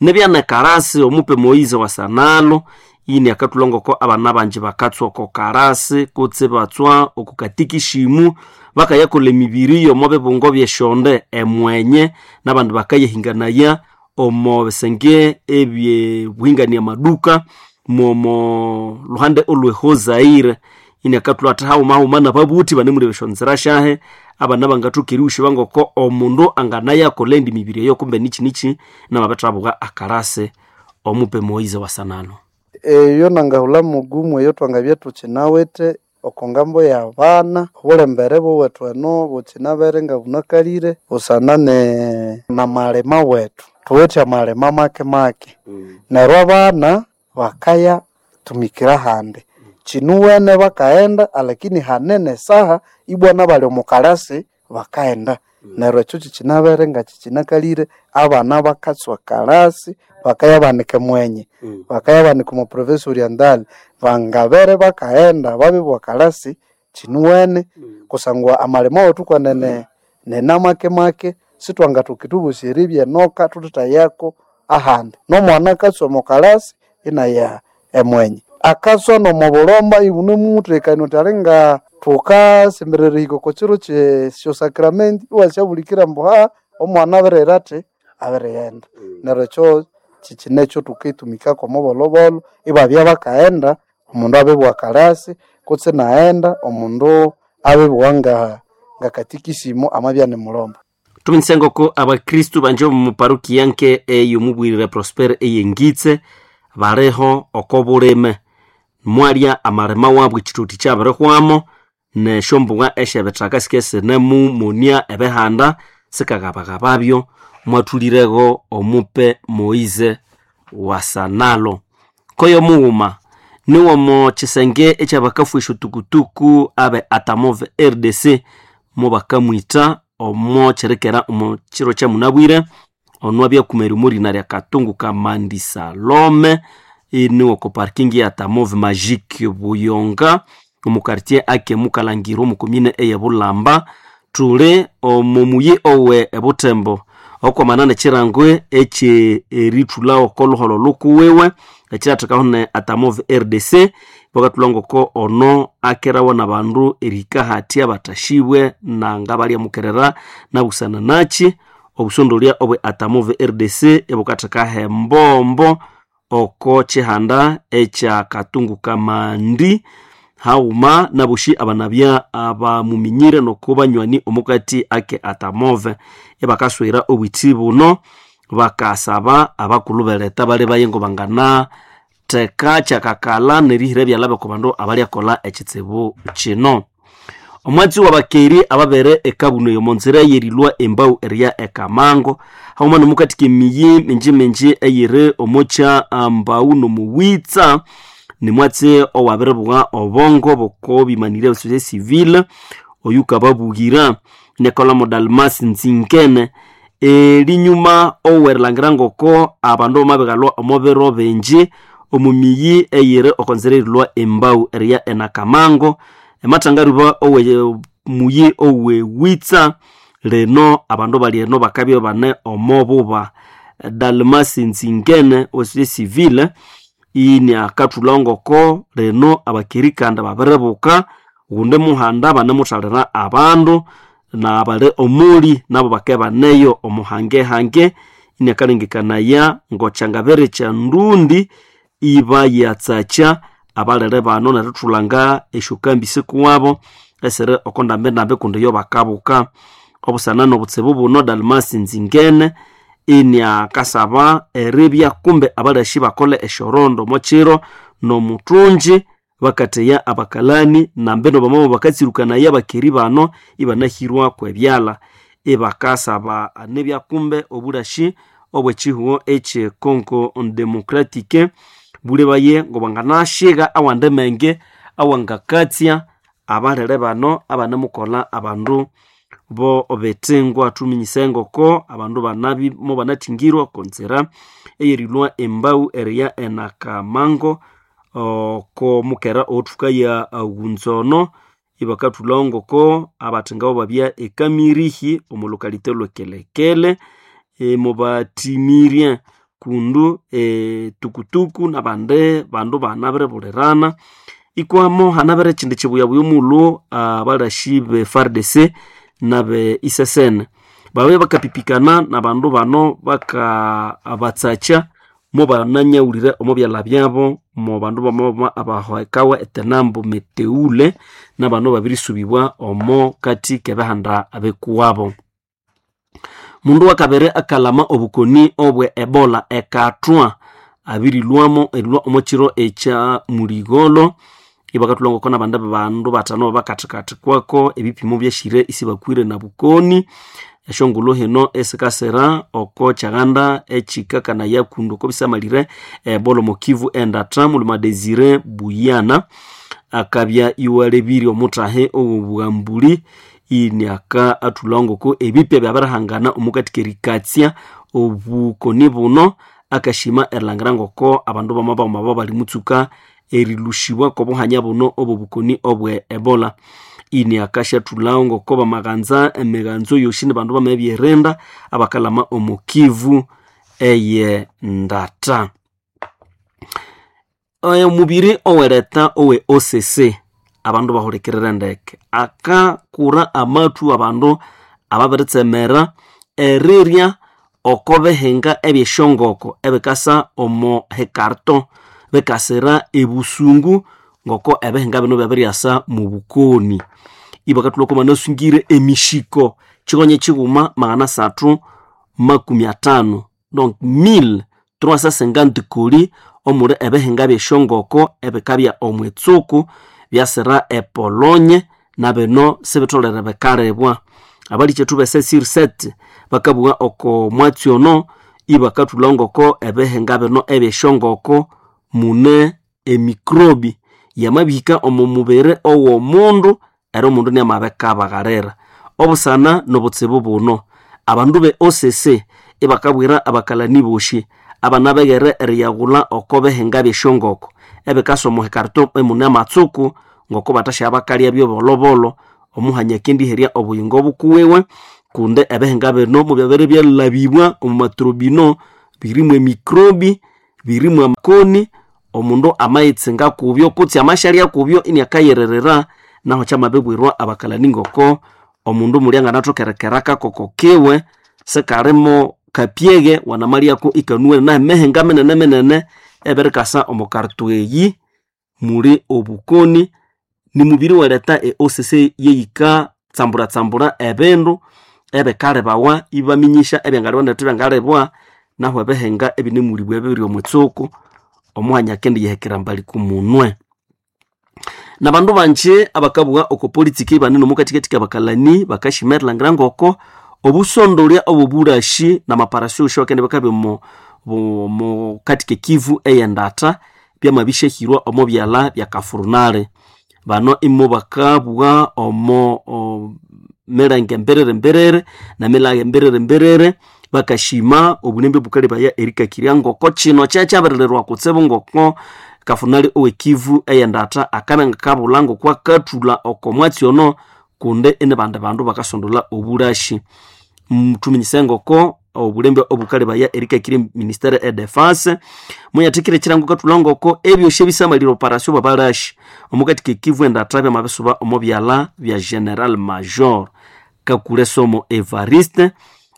nebyanekarasi omupe Moize wasanalo ini akathulha ngoko abana bangi bakatswa oko karasi kutse batswa oko katikishimu bakayakolha emibiri y'omo bibungo by'esyonde emwenye n'abandi bakayahinganaya omo bisenge ebyebuhingania amaduka momo luhande olwehozaire ini akathulha athi haghuma haghuma nababuthi banemulebya esyonzira syahe abana bangathoka erighushiba ngoko omundu anganayakolha endi mibiri eyo kumbe niki niki namabithabuka akarasi omupe Moize wasanalo eyo nangahulha mugumu eyo twangabya thukinawithe oko ngambo y'abana obulembere bowethu eno bukinabere nga bunakalire busana ne namalima wethu thuwithe amalima make make neryo abana bakaya tumikira handi kinuwene bakaghenda alakini hanene esaha ibwana bali omu kalasi bakaghenda neryo ekyo kikinabere nga kikinakalire abana bakatswa kalasi bakayabanika mwenye bakayabanika omu province oriental bangabere bakaghenda babibwa kalasi kinuwene kusangwa amalima wethu kwenene nena make make sitwangathoka ithubosya eribya enoka thuthithayako ahandi nomwana akatswa omu kalasi inaya emwenye akatswa nomu bulomba ibunemuthekania uthi alinga thukasemberera erihika oko kiro kyesyo sakramenti iwasyabulikira ambu ha omwana abirira athi abirighenda neryo ekyo kikinekyo thukitumikako omubolobolo ibabya bakaghenda omundu abibugha kalasi kutse inaghenda omundu abibugha nga ngakatikisimu amabya nimulomba tuminyise ngoko abakristu banje omu parukia nke eyomubwirire Prosper eyengitse baliho oko bulime mwalya amalima wabu ekithuthi kyabirihwamo nesyombugha esyebithaka sikesinemumonia ebihanda sikagabagababyo mwathulirego omupe Moize wasanalo koyo mughuma niwomo kisenge ekyabakafwa esyotukutuku abe atamove R D C mubakamwitha omo kyerikera omo kiro kyamunabwire ono abyakumera omurina lya Katungu Kamandi Salome iniwo ko parking ya Atamove Magique Buyonga omu quartier ake mukalangirwa omu komine eye Bulamba thuli omo muyi owe ebutembo okwamana nekirangwe ekye erithulha oko luholho lukuwiwe ekirathekaho ne Atamove R D C bakathulha ngoko ono akerawa nabandu erihika hathya bathashibwe nanga balyamukerera nabusana nakyi obusondolya obwe Atamove R D C ebukathekaho embombo oko kihanda ekya Katungu Kamandi haghuma naboshi abanabya abamuminyire noko banywani omukati ake Atamove ebakaswera obwithi buno bakasaba abakulhu beleta bali baye ngo bangana Theka kyakakala nerihira ebyalha b'oko bandu abalyakolha ekitsibu kino. Omwatsi w'abakeri ababere ekabuno y'omonzira yerilwa embau eriya ekamango haghuma n'omukathika emiyi mingi mingi eyiri omokya mbau n'omuwitsa nimwatsi owabiribugha obongo boko bimanirye ebisosya civile oyukababughira nekolamo Dalmas Nzingene erinyuma owerilhangira ngoko abandu bamabighalwa omo biro bingi omu miyi eyiri okonzira erilwa embau eriya enakamango emathangaruba owe muyi owewitsa lino abandu bali eno bakabya bane omo buba. Dalmas Nzingene owesosya civile ini akathulha ngoko lino abakeri kandi babiribuka ghundi muhanda banemuthalira abandu nabali omuli nabo bakabya baneyo omuhangehange ini akalengekanaya ngokyangabere kyandundi ibayatsakya abalere bano nerithulanga esyokambi sikuwabo esiri oko ndambendambi kundi yo bakabuka. Obusana n'obutsibu buno Dalmas Nzingene ini akasaba eribya kumbe abalashi bakole esyorondo omokiro n'omuthungi bakatheya abakalani nambeno bamamo bakatsirukanaya abakeri bano ibanahirwa kwebyalha ibakasaba anibya kumbe obulashi obwekihugho ekye Congo Democratique bulebaye ngobwanganashiga awandi menge awangakatsya abalere bano abanemukolha abandu bo bethengwa. Thuminyise ngoko abandu banabi mo banathingirwa okonzira eyerilwa embau eriya enakamango oko mukera owothuka ya ghunzono ibakathulhawo ngoko abathengabo babya ekamirihi omo lokalite lwekelekele mubathimirie kundu etukutuku nabandi bandu banabiribulirana ikwamo hanabire ekindi kibuyabuya omulhu abalashi be F A R D C nabe I S S N babya bakapipikana nabandu bano bakabatsakya mo bananyaghulire omo byalha byabo mo bandu bamabama abahekawa etenambo meteule nabano babirisubibwa omo kati kebihanda bikuwabo. Mundu wakabere akalama obukoni obwe Ebola ekathwa abirilwamo erilwa omo kiro ekya muligolo ibakathulha ngoko nabandi bandu bathano bakathikathikwako ebipimo byashire isibakwire na bukoni. Esyongulhu hino esikasira oko kyaghanda ekikakanaya kundu oko bisamalire Ebola omo Kivu endatha mulima Desire Buyana akabya iwalebirye omuthahi ow'obughambuli ini aka athulha ngoko ebipya byabirihangana omukati kerikatsya obukoni buno akashima erilhangira ngoko abandu bamabama babo bali mutsuka erilushibwa k'obuhanya buno obw'obukoni obwe Ebola. Ini akashathulhawo ngoko bamaghanza emighanzo yosi nibandu bamabyerinda abakalama omo Kivu eye ndata. Omubiri owereta owe O C C abandu bahulikirira ndeke akakura amathu abandu ababiritsemera erirya oko bihinga ebyesyongoko ebikasa omo hekarto bikasira ebusungu ngoko ebihinga bino byabiryasa mu bukoni. Ibakathulha oko banasungire emishiko kikonye kighuma magana asathu makumi athanu donc mille trois cent cinquante koli omuli ebihinga byesyongoko ebikabya omwitsuku byasira epolonye nabino sibitholere bikalibwa. Abalikethu be C sept bakabugha oko mwatsi ono ibakathulha ngoko ebihinga bino ebyesyongoko mune emikrobi yamabihika omo mubiri ow'omundu eri omundu niamabikabaghalira. Obusana n'obutsibu buno abandu be O C C ibakabwira abakalani bosi abana beghere eriyaghulha oko bihinga byesyongoko ebikasa omo hekarto emune amatsuku ngoko bathasya bakalya byobolobolo omuhanya akendiherya obuyingo bukuwiwe kundi ebihinga bino mubyabere byalabibwa omu matrobino birimu emikrobi birimu amakoni omundu amayitsinga kubyo kutse amashalya kubyo iniakayirerera naho kyamabibwirwa abakalani ngoko omundu muli anganathokerekera kakoko kiwe sikalimo kapyeghe wanamalyako ikanuwene nahe mihinga minene minene ebirikasa omo karto eyi muli obukoni nimubiri wereta e O C C yeyika tsambura-tsambura ebindu ebikalibawa ibaminyisha ebyangalibwa nethu ebyangalibwa nahu ebihinga ebinemulibwa ebibiri omwitsuku Omuhanya kendi yehekera mbali kumunwe. Na bandu banje abakabugha oko politiki banene omukathikathika abakalani bakashimerilhangira ngoko obusondolya obobulashi na maparasyo osho bakende bakabya omo omo katika Kivu eyendata byamabishahirwa omo byala bya Kafurunale. Bano imo bakabugha omo o, milenge mberere mberere na milage mberere mberere bakashima obunembe bukalebaya erikakirya ngoko kino kyakyabirirwa kutsibu ngoko Kafurunale owe Kivu eyendata akabenga kabula ngoko akathula oko mwatsi ono kunde ene bandi bandu bakasondola obulashi. Mtuminyise ngoko obulembe obukalebaya erikakiri ministere e defense muyathikire ekirango kathula ngoko ebyoshe bisamalire operasyo babalashi omukatika Kivu endata byamabisuba omo byala bya General Major Kakule Somo Evariste.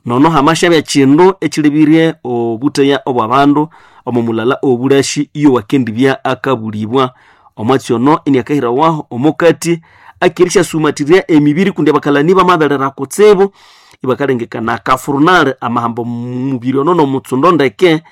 Nono hamasha bya kindu ekilibirye obuteya obwabandu omo mulala obulashi iyo wakendibya akabulibwa omwatsi ono iniakahira waho omukati akirisha sumatirya emibiri kundi abakalani bamaberera kutsibu ibakalengekana Kafurunale amahambo mubiri ono nomutsundo ndeke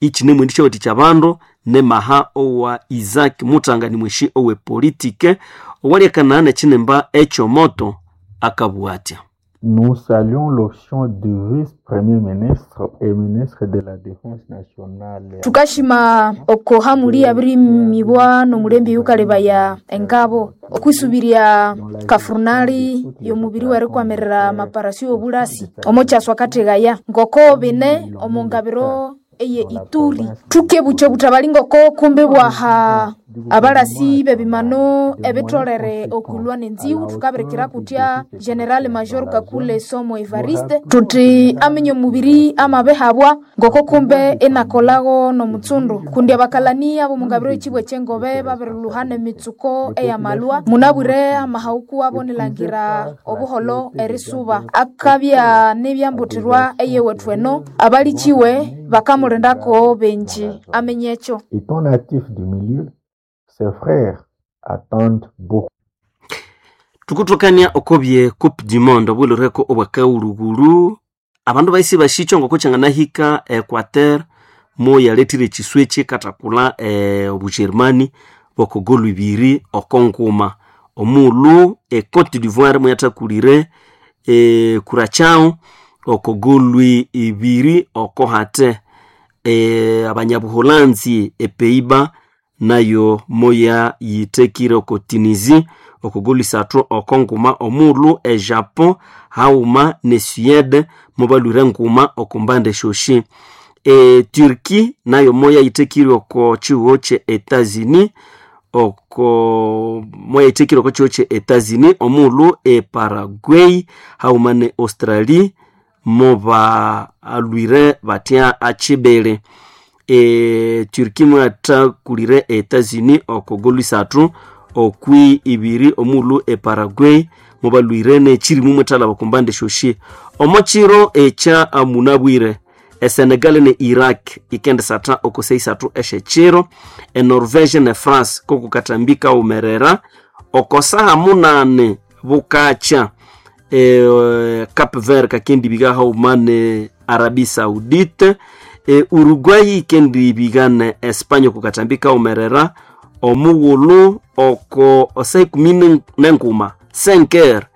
ikine mwendisha watikya bandu nemaha owa Isaac Mutangani mweshi owe politike owalekana nekinemba ekyomoto akabwatya. Nous saluons l'option du vice-premier ministre et ministre de la Défense nationale. Tukashima oko hamuli abirimibwa n'omulembe yukalebaya engabo okwisubirya Kafurunali y'omubiri werikwamirira maparasyo obulasi omo kyaswa kathegaya ngoko bine omu ngabiro eye Ituri tukebuche butabali ngoko kumbe bwaha abalasi bebimano ebitolere okulwa nenziwu tukabirikira kutya General Major Kakule Somo Evariste tuti aminye omubiri amabehabwa ngoko kumbe enakolago nomutsundu kundi abakalani abo mungabiro ekibwa ekyengobe babirilhuhana emitsuko eyamalwa munabwire amahauku abo nilangira obuholo erisuba akabya nebyambutirwa eyewethu eno abalikiwe bakamulindako benji amenye ekyo. Étant natif du milieu, ses frères attendent beaucoup. Tukuthokania okobye Coupe du Monde obwilireko obwakaghulhughulhu abandu baisi bashicho ngoko kyanganahika Equateur mo yalethire ekiswa ekikathakula eh, obugermani bokogolhu ibiri oko nguma omughulhu e Cote d'Ivoire muyathakulire e, Curaçao okogolhu ibiri oko hate e, abanyabuholanzi e Pays-Bas nayo moya yithekire oko Tunisie okogolhu isathu oko nguma omughulhu e Japon haghuma ne Suede mubalhwire nguma oko mbande esyosi. E Turkey nayo moya yithekire oko kihugho kye Etats-Unis oko moya yithekire oko kihugho kye Etats-Unis omughulhu e Paraguay haghuma ne Australie mobalhwire batya akibiri. E Turkey mwathakulire Etats-Unis okogolhu isathu okwi ibiri omughulhu e Paraguay mubalhwire nekyirimu mwethalaba okumbande esyosi. Omo kiro ekya munabwire e Senegal ne Iraq ikendisatha okose isathu esyekiro, e Norvege ne France kokukatambi kaghumerera okosaha munani bukakya e Cape Verde kakendibika haghuma ne Arabie Saoudite, e Uruguay ikendibika ne Espanya okukatambi kaghumerera omughulhu oko saa ikumi nenguma cinq heures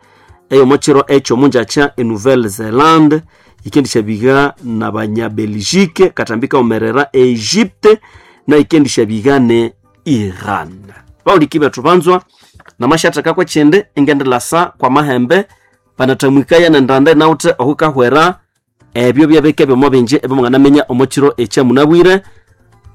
eyomo kiro ekyo omunjakya e Nouvelle Zelande ikendisyabiga nabanya Belgique katambi kaghumerera Egypte na ikendisyabiga ne Iran. Bawuliki bethu banzwa namasyatheka kwekyindi ingendilasa kwa mahembe banathamwikaya nendanda inawuthe ohukahwera ebyo byabike byomo bingi ebyomunganaminya omo kiro ekyamunabwire.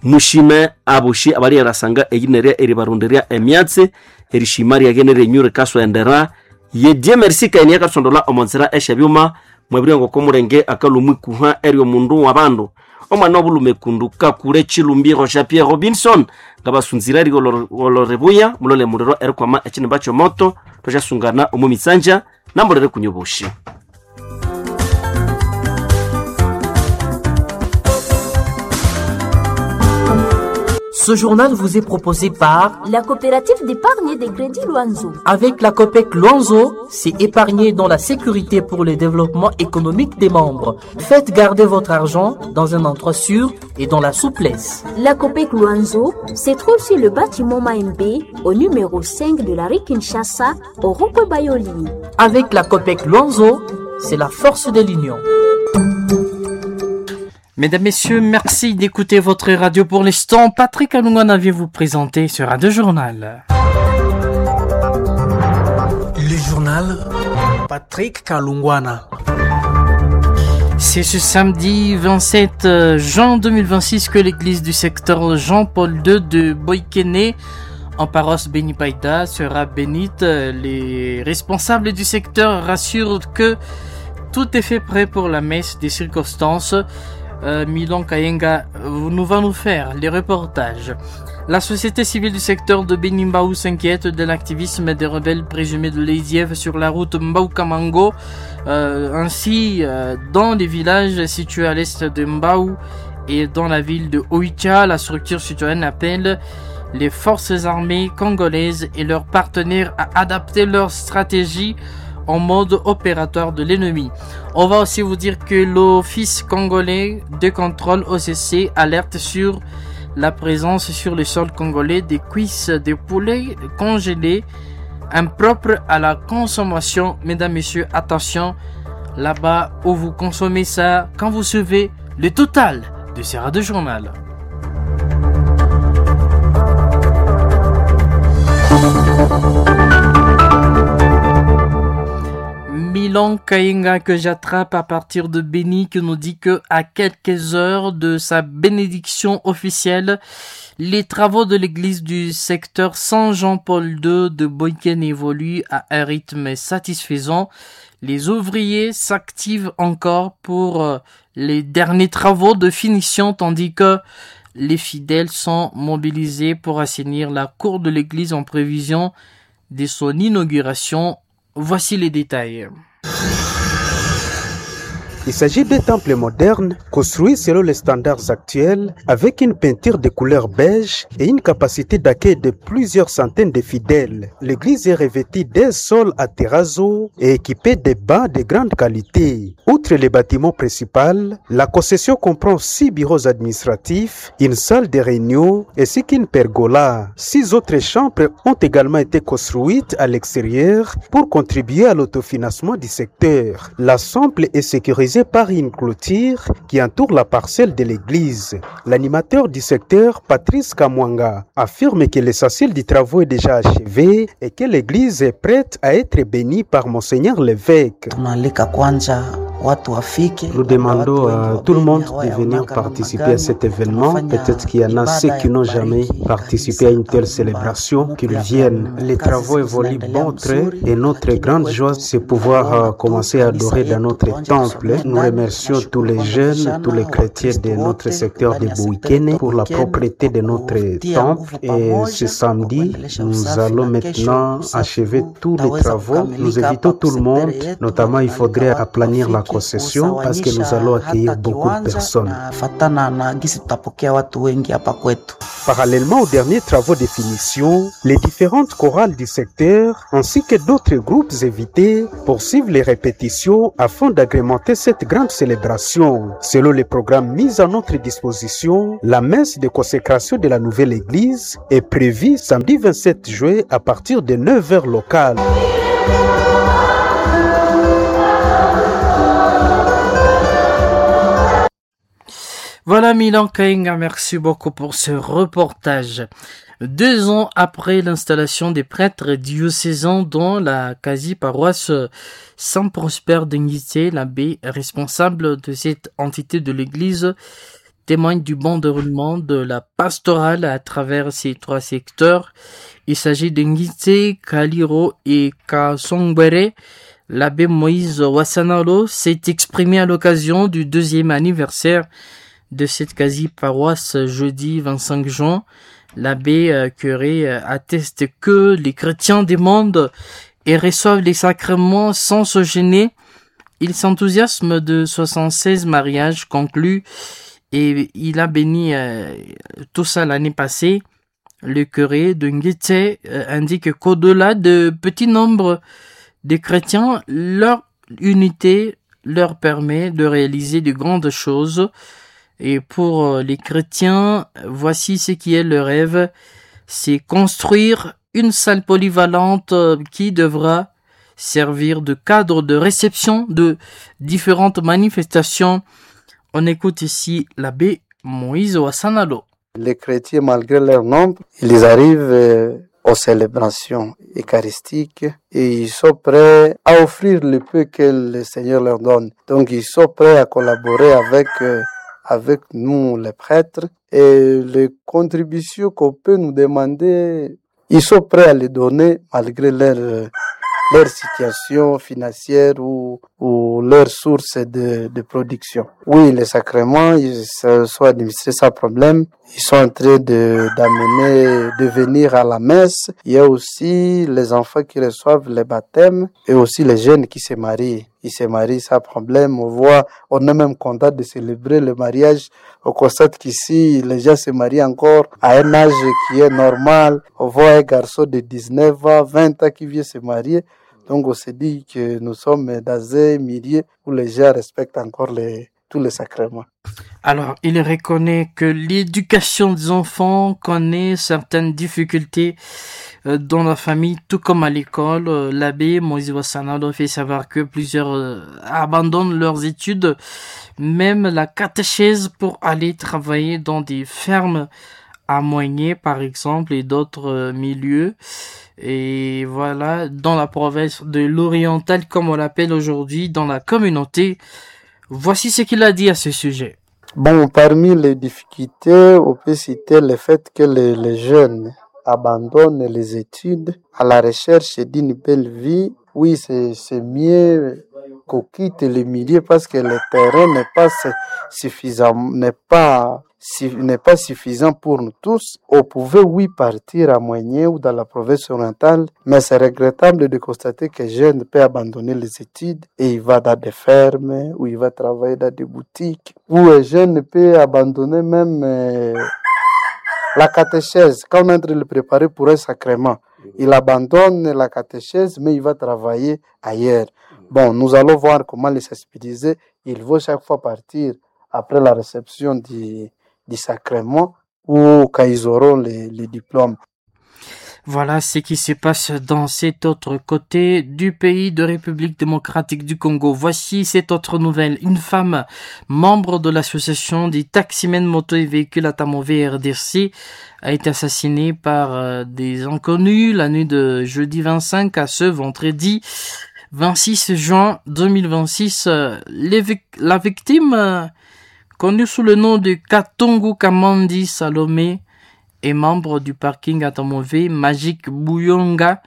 Mushime aboshi abaliyerasanga eyinerya eribarundirya emyatsi erishima ryagene ryenyu rikaswendera ye Dieu merci kaini yakasondola omonzira esyabyuma mwabiri ngoko mulenge akalumwikuha eryo mundu wabandu omwana obulume kundu kakule chilumbiro Jean Pierre Robinson ngabasunzira rigoloribuya mulole muliro erikwama ekinimba kyomoto twasyasungana omu mitsanja namulere kunyoboshi. Ce journal vous est proposé par la coopérative d'épargne des crédits Luanzo. Avec la COPEC Luanzo, c'est épargner dans la sécurité pour le développement économique des membres. Faites garder votre argent dans un endroit sûr et dans la souplesse. La COPEC Luanzo se trouve sur le bâtiment Maembe, au numéro cinq de la rue Kinshasa, au rond-point Bayoli. Avec la COPEC Luanzo, c'est la force de l'union. Mesdames, Messieurs, merci d'écouter votre radio pour l'instant. Patrick Alungana vient vous présenter ce Radio Journal. Le journal Patrick Kalungwana. C'est ce samedi vingt-sept juin deux mille vingt-six que l'église du secteur Jean-Paul deux de Boikene, en paroisse Benipaïda, sera bénite. Les responsables du secteur rassurent que tout est fait prêt pour la messe des circonstances. Euh, Milan Kayenga nous va nous faire les reportages. La société civile du secteur de Benimbaou s'inquiète de l'activisme des rebelles présumés de l'A D F sur la route Mbao-Kamango. Euh, ainsi, euh, dans les villages situés à l'est de Mbao et dans la ville de Oicha, la structure citoyenne appelle les forces armées congolaises et leurs partenaires à adapter leur stratégie en mode opérateur de l'ennemi. On va aussi vous dire que l'Office congolais de contrôle O C C alerte sur la présence sur le sol congolais des cuisses de poulet congelées impropres à la consommation. Mesdames, Messieurs, attention, là-bas où vous consommez ça, quand vous suivez le total de ce Radio Journal. Milan Kayenga que j'attrape à partir de Beni qui nous dit que à quelques heures de sa bénédiction officielle, les travaux de l'église du secteur Saint-Jean-Paul deux de Boikene évoluent à un rythme satisfaisant. Les ouvriers s'activent encore pour les derniers travaux de finition tandis que les fidèles sont mobilisés pour assainir la cour de l'église en prévision de son inauguration. Voici les détails. Il s'agit d'un temple moderne construit selon les standards actuels avec une peinture de couleur beige et une capacité d'accueil de plusieurs centaines de fidèles. L'église est revêtue d'un sol à terrazzo et équipée de bancs de grande qualité. Outre les bâtiments principaux, la concession comprend six bureaux administratifs, une salle de réunion ainsi qu'une pergola. Six autres chambres ont également été construites à l'extérieur pour contribuer à l'autofinancement du secteur. L'ensemble est sécurisé par une clôture qui entoure la parcelle de l'église. L'animateur du secteur, Patrice Kamwanga, affirme que l'essentiel du travaux est déjà achevé et que l'église est prête à être bénie par Monseigneur l'évêque. Nous demandons à tout le monde de venir participer à cet événement. Peut-être qu'il y en a ceux qui n'ont jamais participé à une telle célébration, qu'ils viennent. Les travaux évoluent bon train et notre grande joie, c'est pouvoir commencer à adorer dans notre temple. Nous remercions tous les jeunes, tous les chrétiens de notre secteur de Boikene pour la propreté de notre temple. Et ce samedi, nous allons maintenant achever tous les travaux. Nous invitons tout le monde, notamment il faudrait aplanir la concession parce que nous allons accueillir beaucoup de personnes. Parallèlement aux derniers travaux de finition, les différentes chorales du secteur ainsi que d'autres groupes invités poursuivent les répétitions afin d'agrémenter cette grande célébration. Selon les programmes mis à notre disposition, la messe de consécration de la nouvelle église est prévue samedi vingt-sept juin à partir de neuf heures locales. Voilà Milan Kainga, merci beaucoup pour ce reportage. Deux ans après l'installation des prêtres diocésains dans la quasi-paroisse Saint-Prosper de Ngité, l'abbé responsable de cette entité de l'église témoigne du bon déroulement de la pastorale à travers ces trois secteurs. Il s'agit de Ngité, Kaliro et Kasongbere. L'abbé Moïse Wassanalo s'est exprimé à l'occasion du deuxième anniversaire de cette quasi-paroisse jeudi vingt-cinq juin. L'abbé curé atteste que les chrétiens demandent et reçoivent les sacrements sans se gêner. Il s'enthousiasme de soixante-seize mariages conclus Et il a béni euh, tout ça l'année passée. Le curé de Ngitse euh, indique qu'au-delà de petits nombres de chrétiens, leur unité leur permet de réaliser de grandes choses. Et pour euh, les chrétiens, voici ce qui est le rêve, c'est construire une salle polyvalente euh, qui devra servir de cadre de réception de différentes manifestations. On écoute ici l'abbé Moïse Wassanalo. Les chrétiens, malgré leur nombre, ils arrivent euh, aux célébrations eucharistiques et ils sont prêts à offrir le peu que le Seigneur leur donne. Donc ils sont prêts à collaborer avec, euh, avec nous, les prêtres, et les contributions qu'on peut nous demander, ils sont prêts à les donner malgré leur, euh, leur situation financière ou, ou leur source de, de production. Oui, les sacrements, ils se sont administrés sans problème. Ils sont en train de, d'amener, de venir à la messe. Il y a aussi les enfants qui reçoivent les baptêmes et aussi les jeunes qui se marient. Ils se marient sans problème. On voit, on est même content de célébrer le mariage. On constate qu'ici, les gens se marient encore à un âge qui est normal. On voit un garçon de dix-neuf ans, vingt ans qui vient se marier. Donc on se dit que nous sommes dans un milieu où les gens respectent encore les, tous les sacrements. Alors, il reconnaît que l'éducation des enfants connaît certaines difficultés euh, dans la famille, tout comme à l'école. Euh, L'abbé Moïse Wassanado fait savoir que plusieurs euh, abandonnent leurs études, même la catéchèse, pour aller travailler dans des fermes à Moigné, par exemple, et d'autres euh, milieux. Et voilà, dans la province de l'Oriental, comme on l'appelle aujourd'hui, dans la communauté. Voici ce qu'il a dit à ce sujet. Bon, parmi les difficultés, on peut citer le fait que les, les jeunes abandonnent les études à la recherche d'une belle vie. Oui, c'est, c'est mieux qu'on quitte le milieu parce que le terrain n'est pas suffisant, n'est pas, n'est pas suffisant pour nous tous. On pouvait, oui, partir à Moigné ou dans la province orientale, mais c'est regrettable de constater que jeune peut abandonner les études et il va dans des fermes, ou il va travailler dans des boutiques, ou un jeune peut abandonner même euh, la catéchèse. Quand on est en train de le préparer pour un sacrement, il abandonne la catéchèse, mais il va travailler ailleurs. Bon, nous allons voir comment les sensibiliser. Il faut chaque fois partir après la réception du, du sacrement ou quand ils auront les, les diplômes. Voilà ce qui se passe dans cet autre côté du pays de République démocratique du Congo. Voici cette autre nouvelle. Une femme membre de l'association des taximens moto et véhicules à Tamové R D C a été assassinée par euh, des inconnus la nuit de jeudi vingt-cinq à ce vendredi vingt-six juin deux mille vingt-six. Euh, les vic- la victime, euh, connue sous le nom de Katongo Kamandi Salomé, est membre du parking Atamové Magique Bouyonga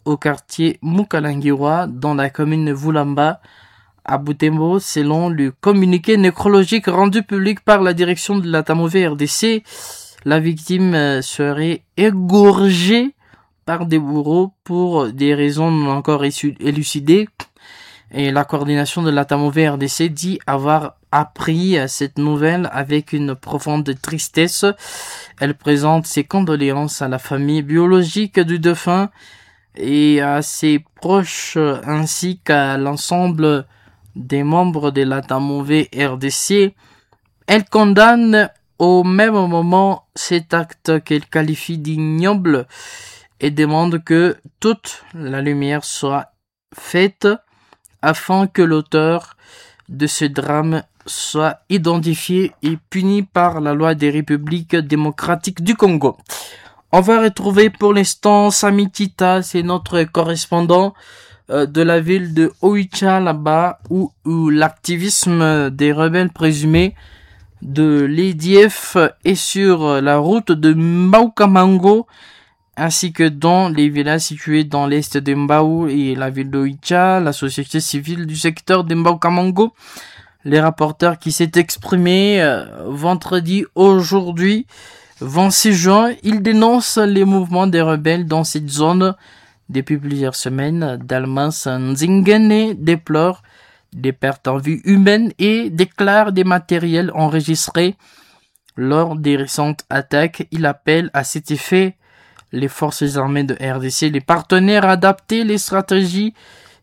au quartier Mukalangiwa dans la commune Vulamba à Butembo, selon le communiqué nécrologique rendu public par la direction de l'Atamové R D C. La victime serait égorgée par des bourreaux pour des raisons non encore élucidées. Et la coordination de l'Atamové R D C dit avoir appris cette nouvelle avec une profonde tristesse. Elle présente ses condoléances à la famille biologique du défunt et à ses proches ainsi qu'à l'ensemble des membres de l'Atamové R D C. Elle condamne au même moment cet acte qu'elle qualifie d'ignoble et demande que toute la lumière soit faite afin que l'auteur de ce drame soit identifié et puni par la loi des Républiques démocratiques du Congo. On va retrouver pour l'instant Sami Tita, c'est notre correspondant de la ville de Oicha, là-bas, où, où l'activisme des rebelles présumés de l'A D F est sur la route de Mbaukamango, ainsi que dans les villages situés dans l'est de Mbao et la ville d'Oicha, la société civile du secteur de Mbaukamango. Les rapporteurs qui s'est exprimé euh, vendredi aujourd'hui, vingt-six juin, ils dénoncent les mouvements des rebelles dans cette zone depuis plusieurs semaines. Dalmas Nzingene déplore des pertes en vie humaine et déclare des matériels enregistrés lors des récentes attaques. Il appelle à cet effet les forces armées de R D C, les partenaires à adapter les stratégies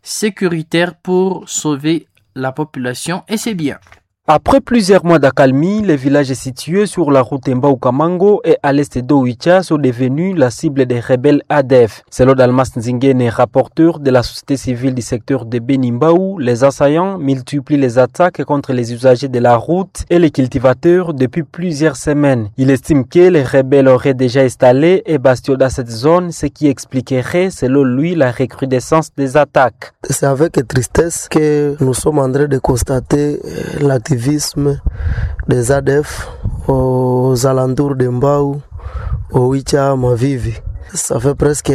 sécuritaires pour sauver la population et ses biens. Après plusieurs mois d'accalmie, les villages situés sur la route Mbau-Kamango et à l'est d'Oicha sont devenus la cible des rebelles A D F. Selon Dalmas Nzingene, rapporteur de la société civile du secteur de Beni-Mbau, les assaillants multiplient les attaques contre les usagers de la route et les cultivateurs depuis plusieurs semaines. Il estime que les rebelles auraient déjà installé un bastion dans cette zone, ce qui expliquerait, selon lui, la recrudescence des attaques. C'est avec tristesse que nous sommes en train de constater l'activité des A D F aux alentours de Mbau, Oicha, Mavivi. Ça fait presque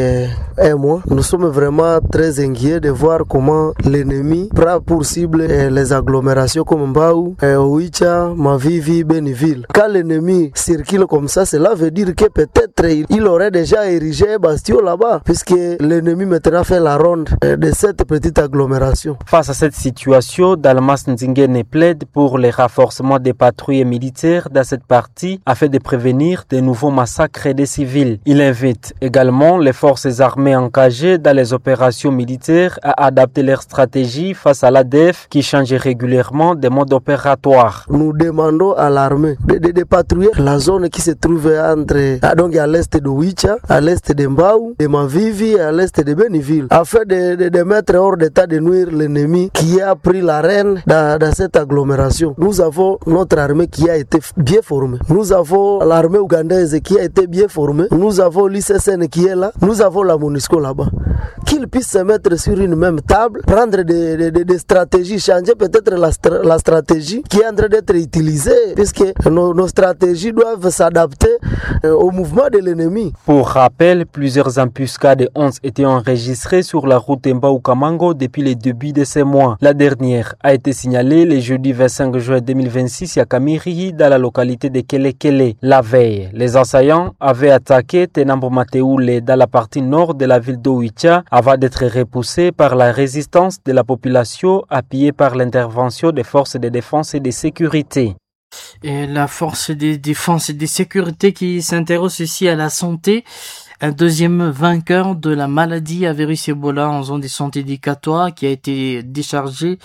un mois. Nous sommes vraiment très inquiets de voir comment l'ennemi prend pour cible les agglomérations comme Mbau, Oicha, Mavivi, Beniville. Quand l'ennemi circule comme ça, cela veut dire que peut-être il aurait déjà érigé un bastion là-bas, puisque l'ennemi maintenant fait la ronde de cette petite agglomération. Face à cette situation, Dalmas Nzingene plaide pour le renforcement des patrouilles militaires dans cette partie afin de prévenir de nouveaux massacres des civils. Il invite également les forces armées engagées dans les opérations militaires à adapter leur stratégie face à l'A D F qui change régulièrement des modes opératoires. Nous demandons à l'armée de, de, de, patrouiller la zone qui se trouve entre, donc à l'est de Oicha, à l'est de Mbau, de Mavivi, à l'est de Beniville, afin de, de, de mettre hors d'état de nuire l'ennemi qui a pris l'arène dans, dans cette agglomération. Nous avons notre armée qui a été bien formée. Nous avons l'armée ougandaise qui a été bien formée. Nous avons l'I C C N qui est là, nous avons la MONUSCO là-bas. Qu'ils puissent se mettre sur une même table, prendre des, des, des stratégies, changer peut-être la, la stratégie qui est en train d'être utilisée, puisque nos, nos stratégies doivent s'adapter au mouvement de l'ennemi. Pour rappel, plusieurs embuscades ont été enregistrées sur la route Mbau-Kamango depuis le début de ce mois. La dernière a été signalée le jeudi vingt-cinq juin deux mille vingt-six à Kamirihi, dans la localité de Kelekele. La veille, les assaillants avaient attaqué Tenambo Mateule dans la partie nord de la ville d'Oicha avant d'être repoussés par la résistance de la population appuyée par l'intervention des forces de défense et de sécurité. Et la force des défense et des sécurités qui s'intéresse aussi à la santé. Un deuxième vainqueur de la maladie à virus Ebola en zone de santé de Katwa qui a été déchargé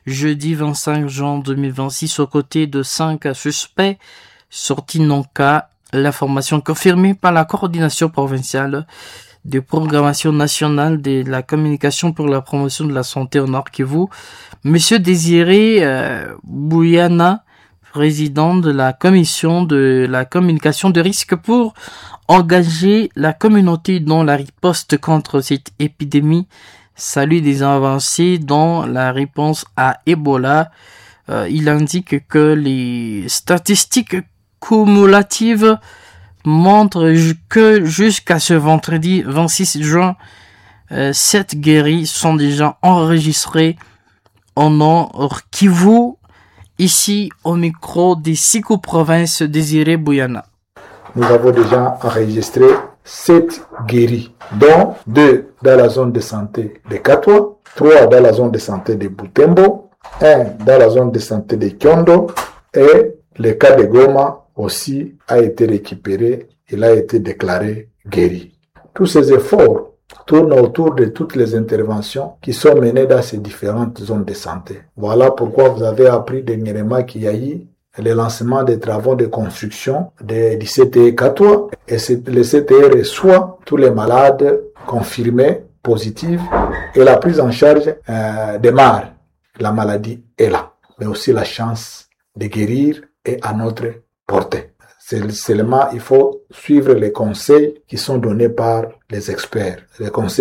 jeudi vingt-cinq juin deux mille vingt-six aux côtés de cinq suspects sortis non cas. L'information confirmée par la coordination provinciale de programmation nationale de la communication pour la promotion de la santé au Nord Kivu. Monsieur Désiré euh, Bouyana, président de la commission de la communication de risque pour engager la communauté dans la riposte contre cette épidémie, salue des avancées dans la réponse à Ebola. Euh, il indique que les statistiques cumulatives montrent que jusqu'à ce vendredi vingt-six juin, euh, sept guéris sont déjà enregistrés en Nord Kivu. Ici, au micro des six provinces, Désiré Bouyana. Nous avons déjà enregistré sept guéris, dont deux dans la zone de santé de Katwa, trois dans la zone de santé de Butembo, un dans la zone de santé de Kyondo et le cas de Goma aussi a été récupéré, il a été déclaré guéri. Tous ces efforts tournent autour de toutes les interventions qui sont menées dans ces différentes zones de santé. Voilà pourquoi vous avez appris dernièrement qu'il y a eu le lancement des travaux de construction de, du C T E Katwa et le C T E reçoit tous les malades confirmés positifs et la prise en charge euh, démarre. La maladie est là, mais aussi la chance de guérir est à notre portée. Seulement, il faut suivre les conseils qui sont donnés par les experts. Les conseils